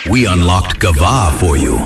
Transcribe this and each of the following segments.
We unlocked Gava for you.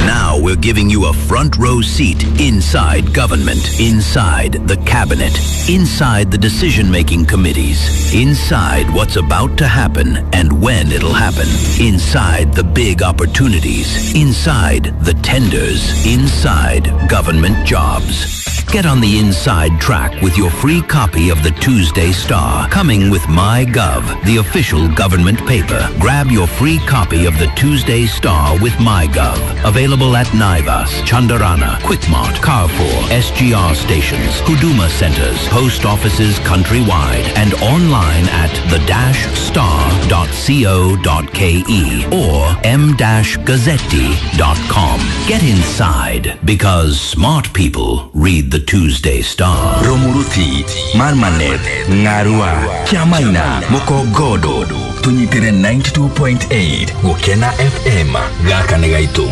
Now we're giving you a front row seat inside government, inside the cabinet, inside the decision-making committees, inside what's about to happen and when it'll happen, inside the big opportunities, inside the tenders, inside government jobs. Get on the inside track with your free copy of the Tuesday Star, coming with MyGov, the official government paper. Grab your free copy of the Tuesday Star with MyGov. Available at Naivas, Chandarana, Quickmart, Carrefour, SGR stations, Huduma centers, post offices countrywide, and online at the-star.co.ke or m-gazzetti.com. Get inside, because smart people read the Tuesday Star. Romuruti, Marmanet, Ngarua, Kiamaina, Mukogodo, tunyitire 92.8 Gukena FM, gaka nĩ gaitũ.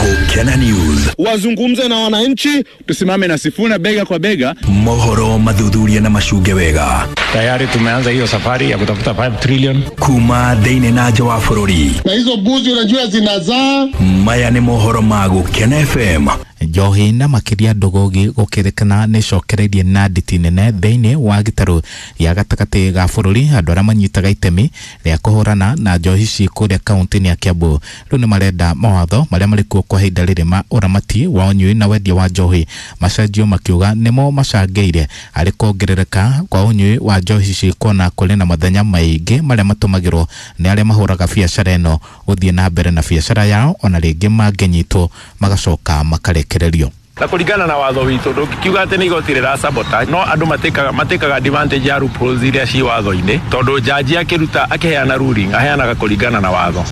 Gukena News. Wazungumze na wananchi, tusimame na Sifuna bega kwa bega. Mohoro mathuthuria na macunge wega. Tayari tumeanza hiyo safari ya kutafuta 5 trillion kuma thĩinĩ na nja wa bũrũri. Na hizo mbuzi unajua zinazaa. Maya nĩ mohoro ma Gukena FM. Njohi na makiria ndugugi gukirikana ni cokereirie na nditi nene thiini wa gitaru ya gatagati ga bururi. Andu aria manyitaga itemi ria kuhurana na njohi ici kuria kaunti-ini ya Kiambu riu ni marenda mawatho maria marikuo kwa ihinda riri ma uramati wa unyui na wendia wa njohi macenjio, makiuga nimo macangĩire harĩ kuongerereka kwa unyui wa njohi ici, kuona kũrĩ na mathenya maingĩ marĩa matũmagĩrwo nĩ arĩa mahũraga biacara ĩno gũthiĩ na mbere na biacara yao, ona rĩngĩ mangĩnyitwo magacoka makarekererio. Na kulingana na watho witũ ndũngikiuga atĩ nĩ igoti rĩra sabotage, no andũ matĩkaga advantage ya loopholes iria ci watho-inĩ, tondũ jaji akĩruta akĩheana ruling aheanaga kũringana na watho.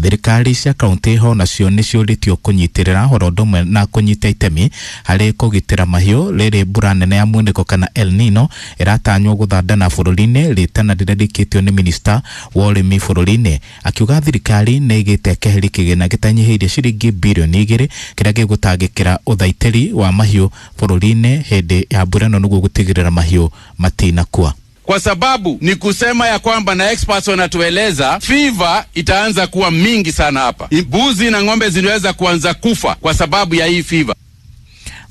Thirikari cia kaunti ho nacio nĩ ciũrĩtio kũnyitĩrĩra oro ũndũ ũmwe na kũnyita itemi harĩ kũgitĩra mahiũ rĩrĩ mbura nene ya munĩko kana El Nino ĩratanywo gũthandana bũrũri-inĩ. Rĩtana rĩrĩrĩkĩtio nĩ minista wa ũrĩmi bũrũri-inĩ akiuga thirikari nĩ ĩgĩte keheri kĩgĩna gĩtanyihĩirie ciringi birioni 2 kĩrĩa gĩgũtangĩkĩra ũthaitĩri wa mahiũ bũrũri-inĩ hĩndĩ ya mbura ĩno nĩguo gũtigĩrĩra mahiũ matinakua. Kwa sababu ni kusema ya kwamba na experts wanatueleza fever itaanza kuwa mingi sana hapa. Mbuzi na ng'ombe zinaweza kuanza kufa kwa sababu ya hii fever.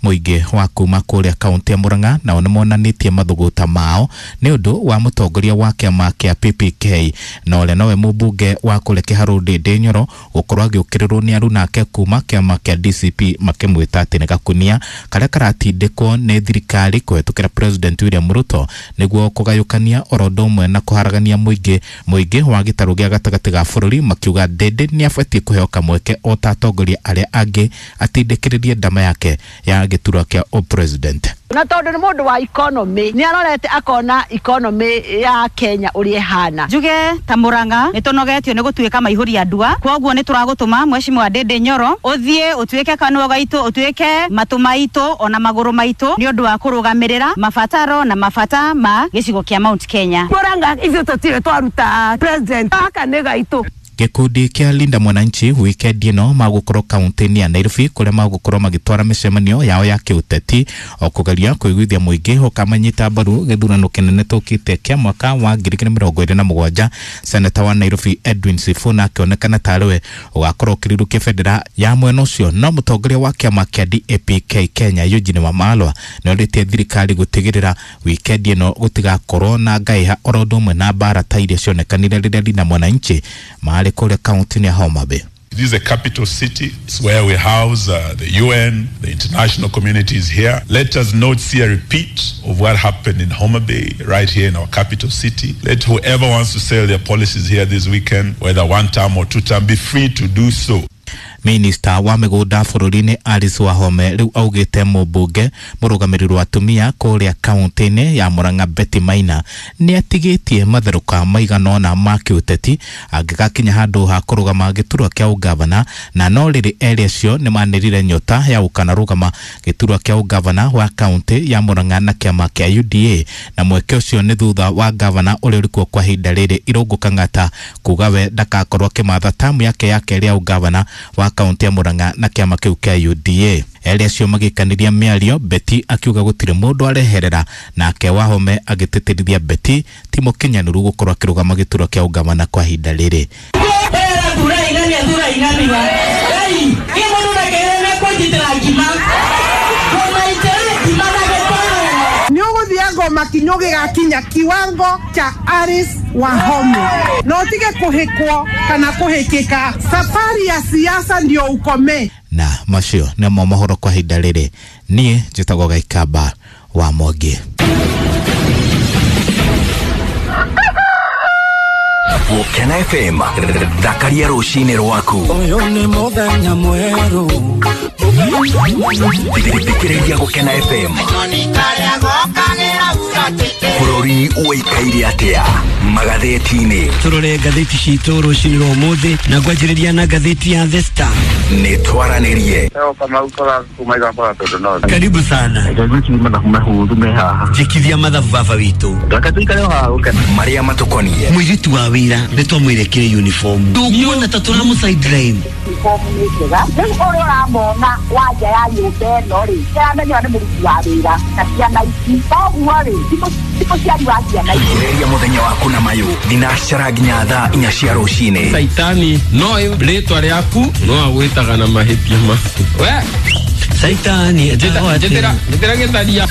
Mũingĩ wa kuma kũrĩa kaunti ya Murang'a nao nĩmonanĩtie mathũgũta mao nĩ ũndũ wa mũtongoria wa kĩama kĩa PPK na ũrĩa nowe mũmbunge wa kũrĩa Kĩharũ Ndĩndĩ Nyoro gũkorwo agĩũkĩrĩrwo nĩ arunake kuma kĩama kĩa DCP makĩmwĩta atĩ nĩ gakunia karĩa karatindĩkwo nĩ thirikari kũhetũkĩra President William Ruto nĩguo kũgayũkania oro ũndũ ũmwe na kũharagania mũingĩ wa gĩtarũ gĩa gatagatĩ ga bũrũri, makiuga Ndĩndĩ nĩ abatiĩ kũheo kamweke o ta atongoria arĩa angĩ atindĩkĩrĩrie ndama yake ya gĩturwa kĩa president. Na tondu ni mundu wa economy ni arorete akona economy ya Kenya uria ihana. Njuge ta Murang'a ni tunogetio ni gutuika maihuri andua, koguo ni turagutuma Mheshimiwa Ndĩndĩ Nyoro uthie utuike kanua gaitu, utuike matu maitu ona maguru maitu ni undu wa kurugamirira mabataro na mabata ma gicigo kia Mount Kenya. Murang'a ithuĩ tutire twaruta president aka ni gaitu. Gĩkundi kĩa Linda Mwananchi wikendi ĩno magũkorwo kaunti-inĩ ya Nairobi kũrĩa magũkorwo magĩtwara mĩcemanio yao ya kĩũteti o kũgeria kũiguithia mũingĩ ũkamanyita mbaru gĩthurano kĩnene tũkĩte kĩa mwaka wa 2027. Seneta wa Nairobi Edwin Sifuna akĩonekana tarĩwe ũgakorwo ũkĩrirũkia bendera ya mwena ũcio, no mũtongoria wa kĩama kĩa DAP-K Kenya Eugene Wamalwa nĩorĩtie thirikari gũtigĩrĩra wikendi ĩno gũtigakorwo na ngaiha oro ũndũ ũmwe na mbara ta iria cionekanire rĩrĩa Linda Mwananchi marĩ kũrĩa kaunti-inĩ ya Homa Bay. This is a capital city. It's where we house the UN, the international community is here. Let us not see a repeat of what happened in Homa Bay, right here in our capital city. Let whoever wants to sell their policies here this weekend, whether one term or two term, be free to do so. Minista wa mĩgũnda bũrũri-inĩ Alice Wahome rĩu augĩte mũmbunge mũrũgamĩrĩri wa atumia kũrĩa kaunti-inĩ ya Murang'a Betty Maina nĩ atigĩtie matherũka maigana ũna ma kĩũteti angĩgakinya handũ ha kũrũgama gĩturwa kĩa ũgavana, na no rĩrĩ erĩ acio nĩ manĩrire nyota ya gũkanarũgama gĩturwa kĩa ũgavana wa kaunti ya Murang'a na kĩama kĩa UDA, na mweke ũcio nĩ thutha wa gavana ũrĩa ũrĩkuo kwa ihinda rĩrĩ Irũngũ Kang'ata kuga we ndakakorwo akĩmatha tamu yake ya kerĩ ya ũgavana wa kaunti ya Murang'a na kĩama kĩu kĩa UDA. Erĩ acio magĩkanĩria mĩario, Betty akiuga gũtirĩ mũndũ areherera, nake Wahome agĩtĩtĩrithia Betty ti mũkinyanĩru gũkorwo akĩrũgama gĩturwa kĩa ũgavana kwa ihinda rĩrĩ. Athura igania thura igania. Ei, ni mundu na kujitira ngima. Nĩ ũgũthiĩ ngoma kinyo gĩgakinya kiwango cha Alice Wahome na ũtige kũhĩkwo kana kũhĩkĩka. Safari ya siasa ndio ukome. Na macio nĩmo mohoro kwa ihinda rĩrĩ. Niĩ njĩtagwo Gaikamba wa Mwangi. Gũkena FM, thakaria rũcinĩ rwaku. Ũyũ nĩ mũthenya mwerũ. Thikĩrĩria Gũkena FM. Bũrũri ũikaire atĩa magathĩti-inĩ? Tũrore ngathĩti citũ rũcinĩ rwa ũmũthĩ na ngwanjĩrĩria na ngathĩti ya The Star. Nĩ twaranĩrie. Karibu sana. Njĩkithia mathabu baba witũ. Marĩa matũkoniĩ. Mũirĩtu wa wĩra nĩ twamwĩrekire uniform. Ndũkuona ta tũramũ sideline. Uniform nĩ njega. Rĩu ũrĩa ũramona wa nja ya nyũmba ĩno rĩ, nĩaramenya nĩ mũruti wa wĩra na ciana ici. Koguo rĩ, ti mũciari wa ciana ici. Thikĩrĩria mũthenya waku na mayũ thinacara nginya thaa 4 cia rũcinĩ. Saitani no rĩtwa rĩaku no agwĩtaga na mahĩtia maku. We Saitani njĩtĩra gĩtharia.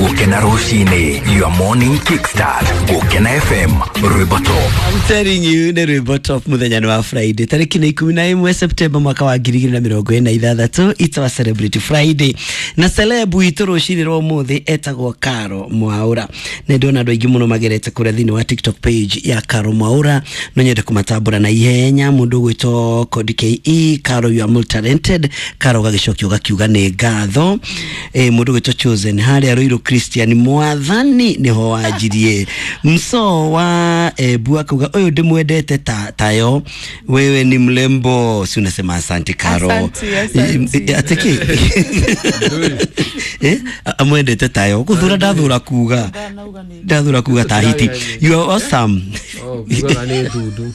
Gũkena rũcinĩ, your morning kickstart. Gũkena FM, rwĩmbo top. I'm telling you, nĩ rwĩmbo top mũthenya wa Friday tarĩki nĩ 11 September mwaka wa 2026. It's our celebrity Friday na celeb witũ rũcinĩ rwa ũmũthĩ etagwo Caro Mwaura. Na ndona andũ aingĩ mũno magerete kũrĩa thĩinĩ wa TikTok page ya Caro Mwaura. No nyende kũmatambũra na ihenya. Mũndũ ũgwĩtwo Kodi KE, Caro you are multi talented. Caro gagĩcokia ũgakiuga nĩ ngatho. Mũndũ ũgwĩtwo Chosen harĩa Ruiru Christian mwathani niho wanjirie. Mso wa Ebu akauga ũyũ ndĩmwendete tayo, wewe ni mlembo. Si unasema asante Caro. Asante. Ateke amwendete tayo guthura ndathura kuga ndathura kuga tahiti. You are awesome. Oh, kuga nĩ ndundu.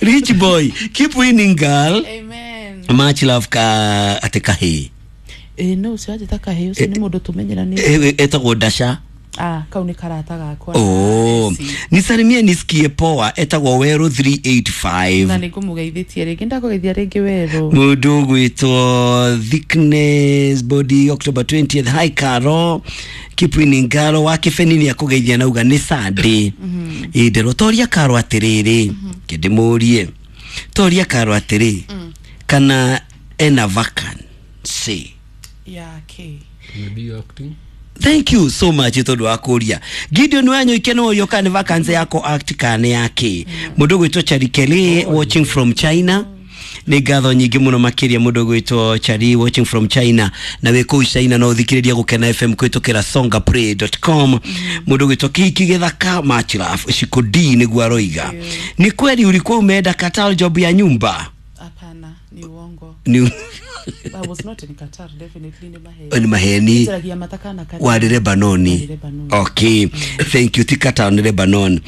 Rich boy, keep winning girl. Amen. Much love ka atekahe. No ucio anjĩta kahĩ ũcio nĩ mũndũ tũmenyeranĩte. Etagwo Dasha. Kau nĩ karata gakwa. Oh, nisalimie nisikie poa. Etagwo Weru 385. Na nĩngũmũgeithĩtie rĩngĩ, ndakũgeithia rĩngĩ Weru. Mũndũ ũgwĩtwo Thickness Body October 20th. Hi Caro, keep winning girl. Wa Kĩbeni nĩ akũgeithia nauga nĩ Sunday. Ĩ toria Caro atĩrĩrĩ, kĩndĩmũrie. Toria Caro atĩrĩ, kana ena vacancy yake. Maybe acting. Thank you so much tondu wa kuria. Gideon Wanyoike no yo kana vacancy yako act kana yake. Mundu gwitwo Chari Kelly watching from China. Nĩ ngatho nyingĩ mũno makĩria mũndũ gwĩtwo Chari watching from China. Na wĩ kũu China no ũthikĩrĩria Gũkena FM kũhĩtũkĩra songaplay.com. Mũndũ gwĩtwo Kiki Gĩthaka much love Shiko D nĩguo aroiga. Ni kweli ulikuwa umeenda Qatar job ya nyumba? Hapana, ni uongo. Ni I was not in Qatar, definitely ni maheni. Ni maheni. Wa Lebanoni. Okay. Thank you. Ti Qatar ni Lebanon.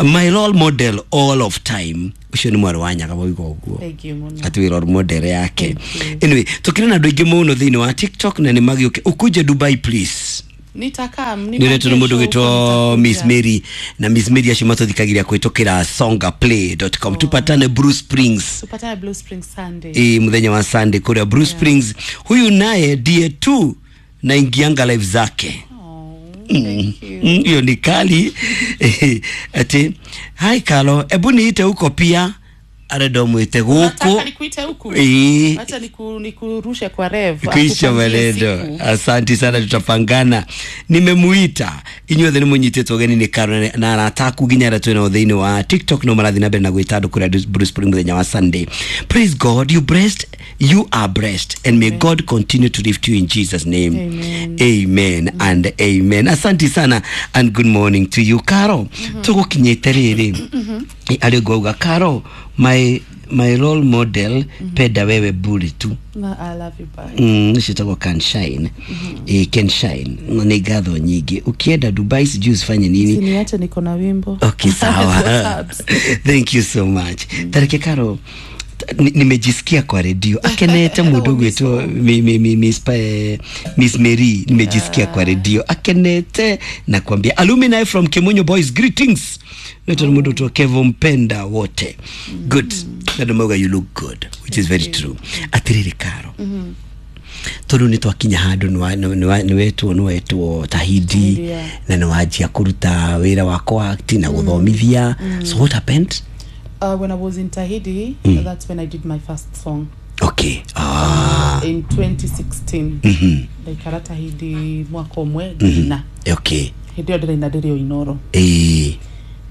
My role model all of time. Ucio ni mwarĩ wa Nyaga wauga ũguo. Thank you mũno. Ati role model yake. Anyway, tukire na andũ aingĩ mũno thĩinĩ wa TikTok na nĩ magĩũke. Ukuje Dubai please. Nitakam. Nĩ mũndũ gwĩtwo Miss Mary na Miss Mary acio matũthikagĩria kũhĩtũkĩra songaplay.com. Tupatane Blue Springs. Tupatane Blue Springs Sunday. Mũthenya wa Sunday kũrĩa Blue Springs. Huyu naye ndiye tu na ingianga live zake. Hiyo ni kali. Ati hi Carlo, ebu niite huko pia. Arenda mwite guku. Nataka nikuite huku. Acha nikurushe kwa rev. Kuisha maneno. Asante sana, tutapangana. Nimemuita. Inyuothe nĩ mũnyitĩtwo ũgeni nĩ Karo na arata aku nginya arĩa twĩ nao thĩinĩ wa TikTok no marathiĩ na mbere na gwĩta andũ kũrĩa Blue Spring mũthenya wa Sunday. Praise God, you blessed, you are blessed, and may God continue to lift you in Jesus name. Amen. Amen and amen. Asante sana and good morning to you Karo. Tũgũkinyĩte rĩrĩ. Arĩ ngauga Karo, my role model penda wewe buri tu. Na I love you bye. Citagwo Can Shine. Can Shine. Nĩ ngatho nyingĩ. Ukienda Dubai sijui usifanye nini. Siniache niko na wimbo. Okay, sawa. Thank you so much. Tareke Karo, Nimejisikia kwa redio akenete mundu gwitwo Miss Mary, nimejisikia kwa redio akenete na kuambia alumni from Kimunyo Boys greetings. Nito ni mundu Kevo mpenda wote. Good. Na mauga you look good, which is very true. Atiriri Karo, tondu nä twakinya handå nä wetwo Tahidi na nä wanjia kå wĩra wa kũact na gũthomithia. So what happened? When I was in Tahidi, that's when I did my first song. Okay. In 2016. Ndaikara Tahidi mwaka ũmwe ngĩina. Okay. Hĩndĩ ĩyo ndĩraina ndĩrĩ o Inoro.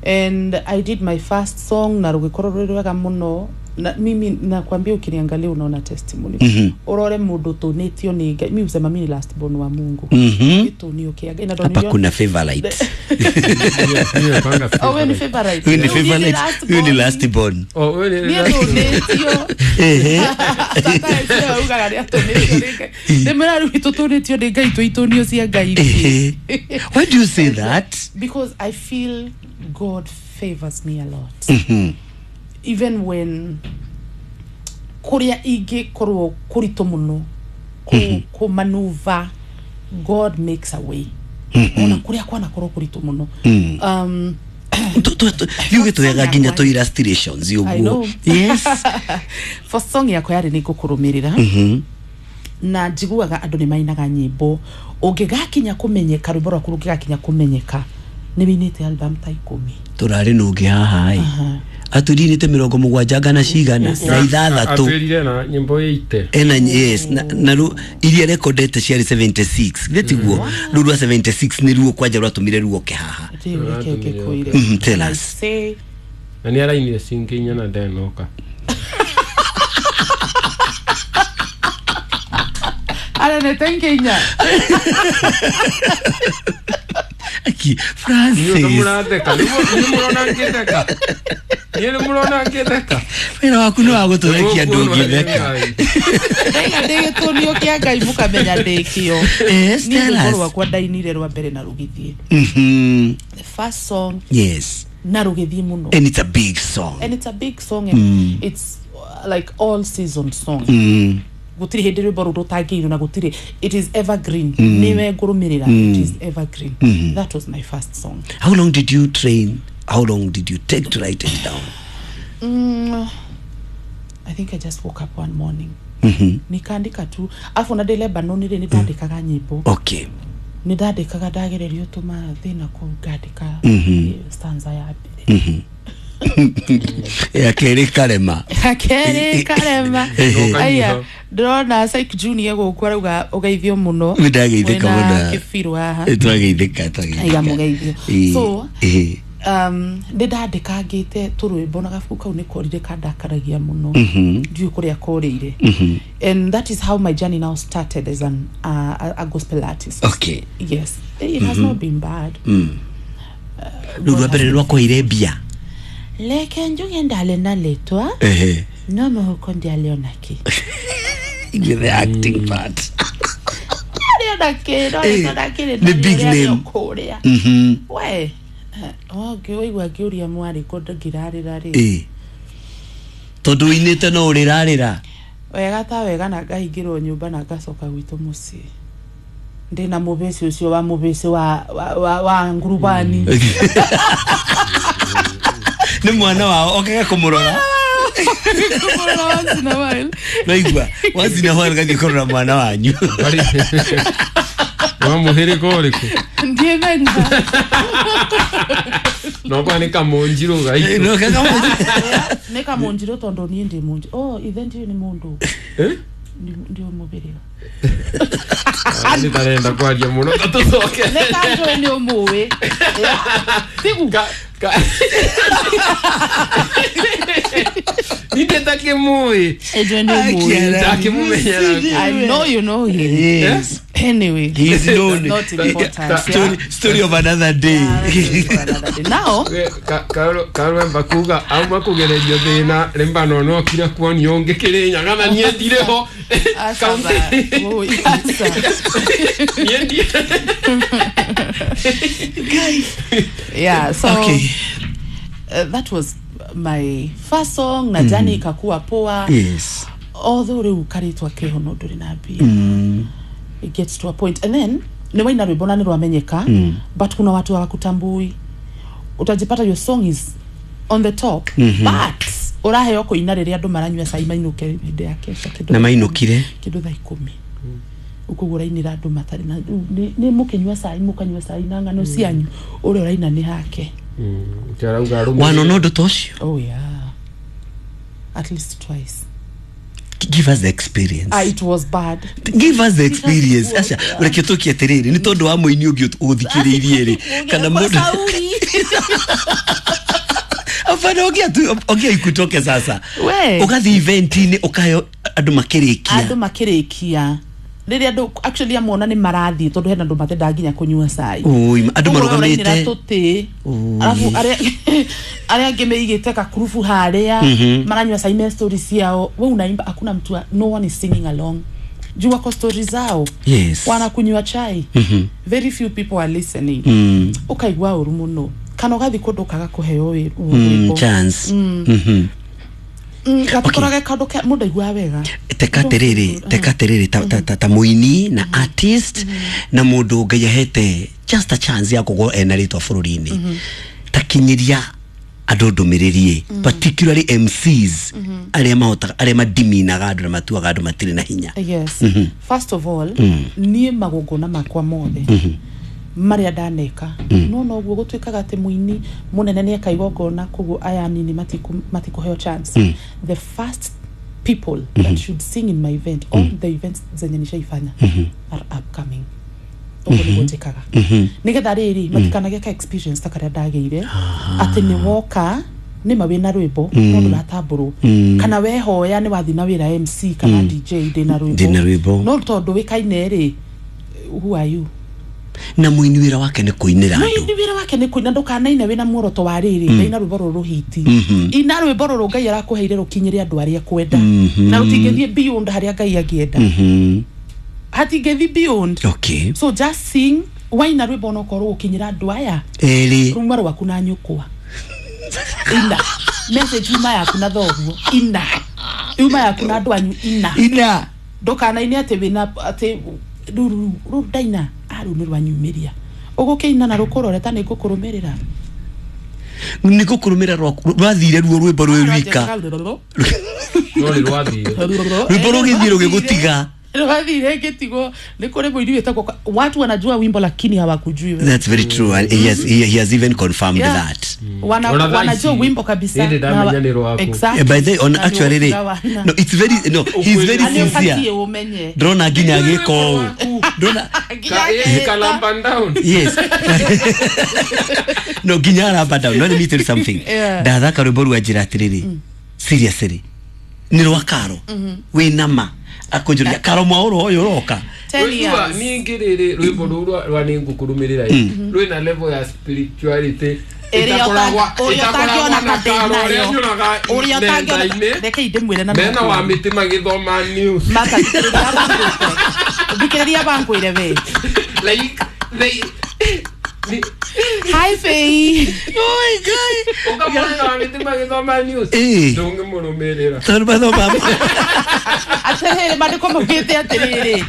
And I did my first song na rũgĩkorwo rwĩ rwega mũno. Na mimi nakwambia ukiniangalia unaona testimony. Urore mundu tunitio ni Ngai. Mimi usema mimi ni last born wa Mungu. Tunio kia Ngai na ndo Hapa kuna favorite. Oh, wewe ni favorite. Wewe ni favorite. Wewe ni last born. Oh, wewe ni last born. Tata ugaga ni atunitio ni Ngai. Ndimira riu tutunitio ni Ngai tuitunio cia Ngai. Why do you say that? Because I feel God favors me a lot. Even when kuria ingikorwo kuritu muno ku maneuver, God makes a way. Ona kuria kwanakorwo kuritu muno. Yuge twega nginya to illustrations uguo. Yes. For song yakwa yari ni ngukurumirira. Na njiguaga andu ni mainaga nyimbo ungigakinya kumenyeka rwimbo rwaku rungigakinya kumenyeka ni winite album ta 10. Turari nungi haha i aturinite 70 ngana cigana na 6 atwirire na nyimbo 80 ena yes na ru iria recordete ciari 76 gitiguo ru rwa 76 ni ruo kwanja rwatumire ruoke haha. Tell us. Na ni arainire cingi na ndenoka aranete nginya Aki Francis. Ni mũratheka. Ni mũrona ngĩtheka. Ni mũrona ngĩtheka. Wĩra waku nĩ wa gũtũrekia andũ ngĩtheka. Ndaiga ndĩgĩtũnio kĩa Ngai mũkamenya ndĩkĩo. Yes, tell us. Niĩ rwakwa ndainire rwa mbere na rũgĩthiĩ. The first song. Yes. Na rũgĩthiĩ mũno. And it's a big song. And it's a big song and it's like all season song. Gutiri hindi rwimbo ruru rutangĩirwo na gutiri, it is evergreen. Niwe ngũrũmĩrĩra, it is evergreen. That was my first song. How long did you train? How long did you take to write it down? I think I just woke up one morning. Nikaandika tu. Afu na ndĩ Lebanon rĩ, nĩndandĩkaga nyĩmbo. Okay. Nĩndandĩkaga ndagererio tũma thĩna kũu ngandĩka stanza ya mbere. Ya kerĩ karema. Ya kerĩ karema. Aya, ndĩrona Psych Junior gũkũ arauga ũgeithio mũno. Nĩndageithĩka mũno. Kĩbirũ haha. Twageithĩka, twageithĩka. Aiga mũgeithio. So, nĩndandĩkangĩte tũrwĩmbo na gabuku kau nĩkorire kandakaragia mũno. Ndiũĩ kũrĩa korĩire. And that is how my journey now started as an a gospel artist. Okay. Yes. It has not been bad. Rũu rwa mbere rwakũheire mbia. Leke njuge ndale na letwa. No mũhuko ndialiona ki. With the acting part. Ndialiona ki, no ndialiona ki. The big name. We, waigua ngĩũria mwarĩ ko ngĩrarĩra rĩ. Tondũ ũinĩte no ũrĩrarĩra. Wega ta wega na ngahingĩrwo nyũmba na ngacoka gwitũ mũciĩ. Ndĩna mũbĩci ũcio wa mũbĩci wa ngurubani. Nĩ mwana wao okaga kũmũrora. Once in a while. Naigua once in a while gathiĩ kũrora mwana wanyu. Wa mũhĩrĩga ũrĩkũ? Ndiĩmenya. No kwa nĩ kamũnjirũ gaitũ. No kamũnjirũ. Nĩ kamũnjirũ tondũ niĩ ndĩ mũnjirũ. Oh, ithe ndiũĩ nĩ mũndũ. Ndio mũbĩrĩga. Nĩ kwaria mũno tũcoke. Nĩ kanjũĩ nĩ ũmũĩ. Tigu. Ninde takimui. I know you know him. Yes. Anyway, he's known. Not important. Story of another day. Now, Karwemba kuga auma kugererio thina rimba no no kira kuonio ngikirinya na nie ndire ho. Yeah, so okay. That was my first song na jani ikakuwa poa. Yes. Although rĩu karĩtwa keho no ndũrĩ na mbia. It gets to a point and then nĩ waina rwĩmbo na nĩ rwamenyeka, but kuna watu hawakutambui. Utajipata your song is on the top, but ũraheo kũina rĩrĩa andũ maranyua cai mainũke hĩndĩ ya kesha kĩndũ Na mainũkire kĩndũ thaa 10 ũkoguo ũrainĩra andũ matarĩ na nĩ mũkĩnyua cai, mũkanyua cai na ng'ano cianyu, ũrĩa ũraina nĩ hake. Wanona ũndũ ta ũcio? Oh yeah, at least twice. Give us the experience. It was bad. Give us the experience. Aca reke tũkie atĩrĩrĩ, nĩ tondũ wa mũini ũngĩ ũthikĩrĩirie rĩ, kana mũndũ Afana ogia ikutoke sasa. Ũgathiĩ event-inĩ ũkaheo andũ makĩrĩkia. Andũ makĩrĩkia. Rĩrĩa andũ actually amona nĩ marathiĩ tondũ hena andũ matendaga nginya kũnyua cai. Oi, andũ marũgamĩte. Tũtĩ. Alafu arĩa angĩ meigĩte kakurubu harĩa maranyua cai me story ciao. We unaimba hakuna mtu, no one is singing along. Juu wako story zao. Yes. Wanakunywa chai. Very few people are listening. Ukaigua ũru mũno. Kana ũgathiĩ kũndũ ũkaga kũheo wĩra. Chance. Gatikorage kaũndũ ke mũndũ aiguaga wega. Teka atĩrĩrĩ ta mũini na artist na mũndũ Ngai ahete just a chance ya kũgwo ena rĩtwa bũrũri-inĩ, takinyĩria andũ ndũmĩrĩri, particularly MCs arĩa mahotaga, arĩa madiminaga andũ na matuaga andũ matirĩ na hinya. Yes. First of all, niĩ magongona makwa mothe marĩa ndaneka no noguo gũtuĩkaga atĩ mũini mũnene nĩ eka igongona koguo aya anini matikũheo chance. The first people that should sing in my event, all the events zenye nishaifanya are upcoming. Ũguo nĩguo njĩkaga nĩgetha rĩrĩ matikanagĩe ka experience ta karĩa ndagĩire atĩ nĩ woka nĩma wĩna rwĩmbo no ndũratambũrwo, kana wehoya nĩ wathiĩ na wĩra MC kana DJ ndĩna rwĩmbo, no tondũ wĩkaine rĩ, who are you? Na mũini wĩra wake nĩ kũinĩra andũ. Mũini wĩra wake nĩ kũina, ndũkanaine wĩna muoroto wa rĩrĩ ndaina rwĩmbo rũrũ hiti, ina rwĩmbo rũrũ Ngai arakũheire rũkinyĩre andũ arĩa ekwenda, na rũtingĩthiĩ beyond harĩa Ngai angĩenda. Hatingĩthiĩ beyond. Okay. So just sing, waina rwĩmbo onokorwo gũkinyĩra andũ aya erĩ, ruma rwaku na nyũkwa, ina message yuma yaku na thoguo, ina yuma yaku na andũ anyu, ina ndũkanaine atĩ wĩna atĩ rũrũ ndaina rũu nĩ rwanyumĩria ũgũkĩina na rũkũrore ta nĩ ngũkũrũmĩrĩra, nĩ ngũkũrũmĩrĩra rwathire ruo rwĩmbo rwĩ rwika rwĩmbo rũgĩthiĩ rũgĩgũtiga rwathire ngĩtigwo. Nĩ kũrĩ mũini wĩtagwo, watu wanajua wimbo lakini hawakujui wewe. That's very true. And he has even confirmed that. Wanajua wimbo kabisa. Exactly. By the on actually no, it's very no, he's very sincere. Ndrona nginya agĩka ũũ. Ndrona kalamba down. Yes. No, nginya aramba down. Let me tell you something. Ndathaka rwĩmbo rwa njĩra atĩrĩrĩ. Seriously. Nĩ rwa Karo. Wĩna ma akunjuria Karo mwaũro ũyũ ũroka. Ningĩ rĩrĩ rwĩmbo rũu rwa nĩ ngũkũrũmĩrĩra rwĩna level ya spirituality ĩtakoragwo na Karo ũrĩa nyonaga nenda-inĩ. Reke ndĩmwĩre na mena wa mĩtĩ magĩthoma news. Thikĩrĩria bankwĩre we. Like they Hi Faye. Oh my God. Ukamwona wa mĩtĩ magĩthoma news. Ndũngĩmũrũmĩrĩra. Tondũ mathoma atĩrĩrĩ mandĩko maugĩte atĩrĩrĩ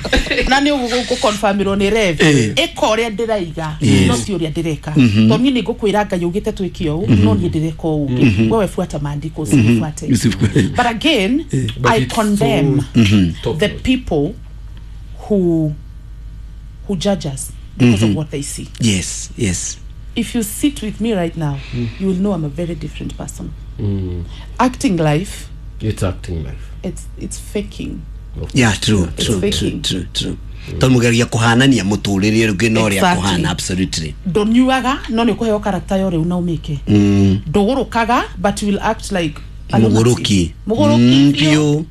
na nĩ ũgũkonfirmĩrwo nĩ Rev ĩka ũrĩa ndĩraiga no ti ũrĩa ndĩreka, tondũ niĩ nĩ ngũkwĩra Ngai augĩte twĩke ũũ no niĩ ndĩreka ũũ ũngĩ, wewe fuata maandiko usifuate. But again, I condemn the people who judge us because of what they see. Yes, yes. If you sit with me right now, you will know I'm a very different person. Acting life. It's acting life. It's faking. Yeah, true, true, true, true, true. Tondũ mũgeria kũhanania mũtũrĩre ũngĩ na ũrĩa kũhana, absolutely. Ndũnyuaga no nĩ ũkũheo character ya ũrĩu na ũmĩke. Ndũgũrũkaga but you will act like a mũgũrũki. Mũgũrũki biũ.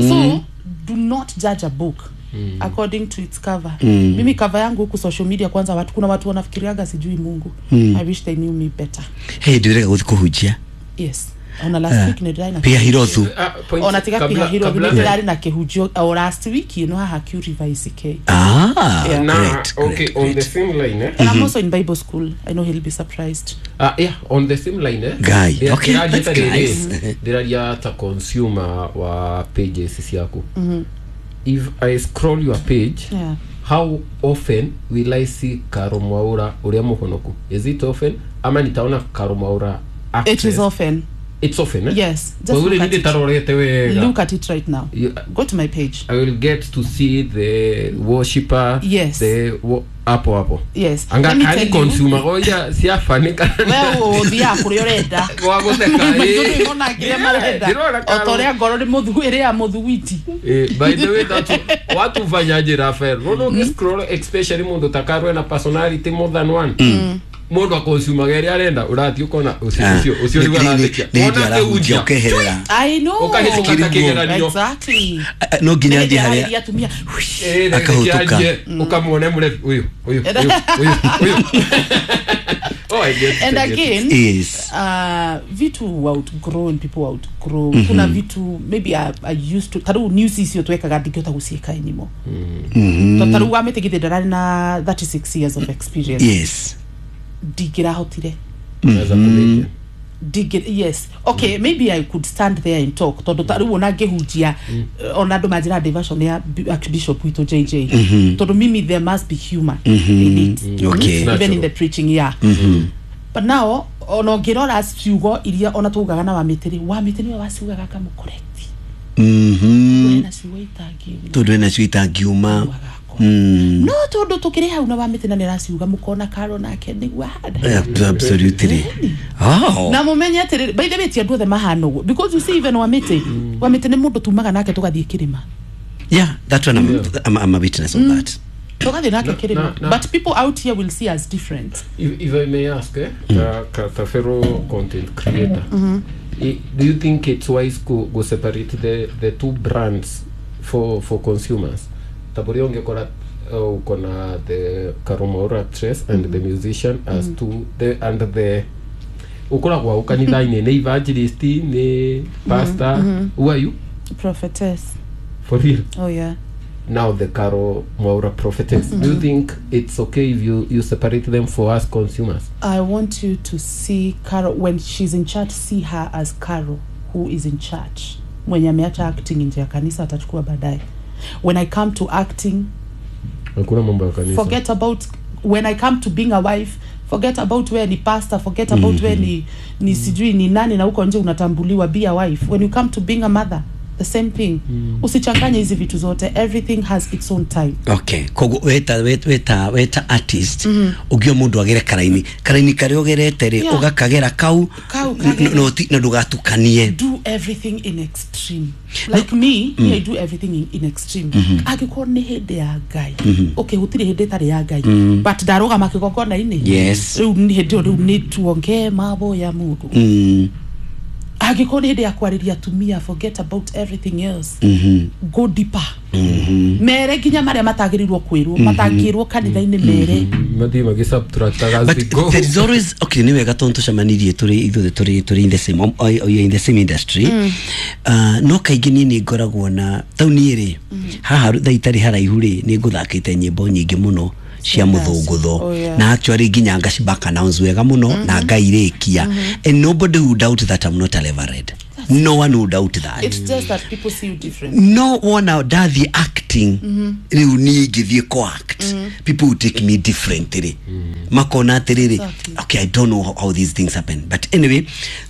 So do not judge a book according to its cover. Mimi cover yangu huku social media kwanza watu, kuna watu wanafikiriaga sijui Mungu. I wish they knew me better. Hey, ndĩrega gũthiĩ kũhunjia. Yes. Ona last week nĩ ndĩrarĩ na Pia Hirothu. Ona tiga Pia Hirothu, nĩ ndĩrarĩ na kĩhunjio o last week ĩno haha Q River ICK. Ah, Na, great, okay, great, on great. the same line, eh? And I'm also in Bible school. I know he'll be surprised. Yeah, on the same line, eh? Guy, okay, Ndĩraria that's ta rĩrĩ, nice. ndĩraria ta consumer wa pages ciaku. If I scroll your page, how often will I see Caro Mwaura ũrĩa mũhonoku? Is it often? Ama nitaona Caro Mwaura actress? It is often. It's often, eh? Yes. Just Kwa look vile at it. nitarorete wega. Look at it right now. Go to my page. I will get to see the worshipper. Yes. The hapo hapo. Yes. Anga Let me kani tell you. consumer goja siafanika. We ũthiaga kũrĩa ũrenda. Gwa gũtheka, Maitũ eh. nĩmona kĩrĩa marenda. Ndĩrona O ta ũrĩa ngoro nĩ mũthu ĩrĩa mũthuguiti. By the way, that watu fanyaje Rafael? Rono mm. Especially mundu takarwe na personality more than one. Mundu akonsumaga ĩrĩa arenda ũrathiĩ ũkona ũcio ũcio ũcio nĩguo arathekia. Nĩ hĩndĩ Wona arahunjia akĩhunjia, ũkeherera. I know. Ũkahĩtũka ta kĩgeranio. Exactly. No nginya athiĩ harĩa Ararĩria atumia. Akahũtũka. Ũkamuona mũrebi ũyũ ũyũ ũyũ ũyũ ũyũ. Oh, I get it, And I get it. again, Yes. Vitu outgrown, people outgrow. Kuna vitu maybe I used to tarĩu news icio twekaga ndingĩhota gũciĩka anymore. Mm. Tarĩu wa mĩtĩ githĩ ndararĩ na 36 years of experience. Yes. Ndingĩrahotire. Unaweza kumake. Yes, okay, maybe I could stand there and talk tondu ta riu ona ngihunjia ona andu manjira diversion ya Archbishop witũ JJ, tondu mimi there must be humor in it. Okay. Even in the preaching, yeah. But now ona ũngĩrora ciugo iria ona tugaga na wamĩtĩ rĩ, wamĩtĩ nĩwe waciugaga akamũcorrect. Wena ciugo itangiuma. Tondũ ena cio itangiuma. No tondu tukĩrĩ hau na wamĩtĩ na nĩaraciuga mũkona Karo nake nĩguo ahana. Absolutely. Oh. Na mumenye atĩrĩrĩ, by the way, ti andũ othe mahana ũguo, because you see, even wamĩtĩ wamĩtĩ nĩ mũndũ tumaga nake tũgathiĩ kĩrĩma. Yeah, that one I'm a witness of that. Tũgathiĩ nake kĩrĩma. Na- But people out here will see us different. If I may ask, eh, ta fellow content creator, do you think it's wise go separate the two brands for consumers? Taburi ungekora uko na the Caro Mwaura actress and the musician as two the and the ukoragwo au kanitha-inĩ nĩ evangelist nĩ pastor. Who are you? Prophetess. For real? Oh yeah. Now the Caro Mwaura prophetess. Do you think it's okay if you separate them for us consumers? I want you to see Caro when she's in church, see her as Caro who is in church. Mwenye ameacha acting nje ya kanisa atachukua baadaye. When I come to acting, Hakuna mambo ya kanisa. forget about when I come to being a wife, forget about where ni pastor, forget about where ni sijui ni nani na huko nje unatambuliwa, be a wife. When you come to being a mother, the same thing. Usichanganye hizi vitu zote. Everything has its own time. Okay, koguo weta artist ũngĩo mũndũ agere karaini karĩa ũgerete rĩ, ũgakagera kau Kau kagere. na ndũgatukanie. Do everything in extreme. Like me, I do everything in extreme. Angĩkorwo nĩ hĩndĩ ya Ngai, okay, gũtirĩ hĩndĩ ĩtarĩ ya Ngai, but ndarũgama kĩgongona-inĩ. Yes. Rĩu nĩ hĩndĩ ĩyo rĩu nĩ tuongee mambo ya Mungu. Angĩkorwo nĩ hĩndĩ ya kwarĩria atumia, forget about everything else, go deeper. Mere nginya marĩa matagĩrĩirwo kwĩrwo, matangĩrwo kanitha-inĩ, mere. Mathiĩ magĩsubtractaga as they But go. there is always, okay, nĩ wega tondũ tũcemanirie tũrĩ ithuothe tũrĩ in the same or in the same industry. No kaingĩ niĩ nĩ ngoragwo na tau niĩ rĩ haha thaa itarĩ haraihu rĩ nĩ ngũthakĩte nyĩmbo nyingĩ mũno cia mũthũngũtho. Oh, yeah. Na actually nginya ngaciback announce wega mũno na ngairĩkia, and nobody would doubt that I'm not a reverend. No one would doubt that. It's just that people see you different. No wona ndathiĩ acting rĩu niĩ ingĩthiĩ co-act, people will take me differently, makona atĩrĩrĩ. Exactly. Okay, I don't know how these things happen, but anyway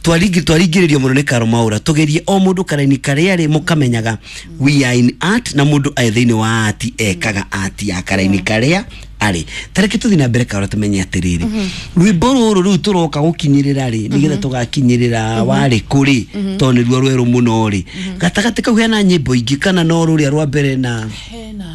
twaringĩrĩrio mũno nĩ Caro Mwaura. Tũgerie o mũndũ karaini karĩa rĩ mũkamenyaga we are in art, na mũndũ arĩ thĩinĩ wa art ekaga art ya karaini karĩa arĩ. Tareke tũthiĩ na mbere Caro, tũmenye atĩrĩrĩ, rwĩmbo rũrũ rĩu tũroka gũkinyĩrĩra rĩ nĩgetha tũgakinyĩrĩra warĩ kũ rĩ, tondũ nĩruo rwerũ mũno rĩ, gatagatĩ kau hena nyĩmbo ingĩ kana no rũrĩa rwa mbere na Hena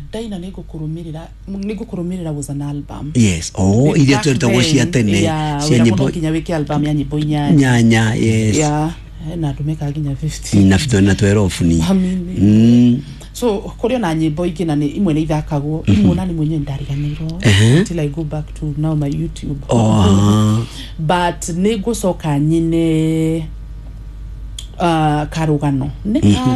ndaina nĩngũkũrũmĩrĩra was an album. Yes, oh, iria Back tweritagwo cia then, tene yeah, cia wĩra mũno nyĩmbo nginya wĩke album ya nyĩmbo inyanya. Nyanya, yes. Yeah, hena andũ mekaga nginya 50. Na twerobu ni. Amini. So kũrĩ ona nyĩmbo ingĩ na nĩ imwe nĩ ithakagwo, imwe ona nĩ mwenyewe ndariganĩirwo until I go back to now my YouTube. Oh. But nĩ ngũcoka nyine Karũgano nĩ karo.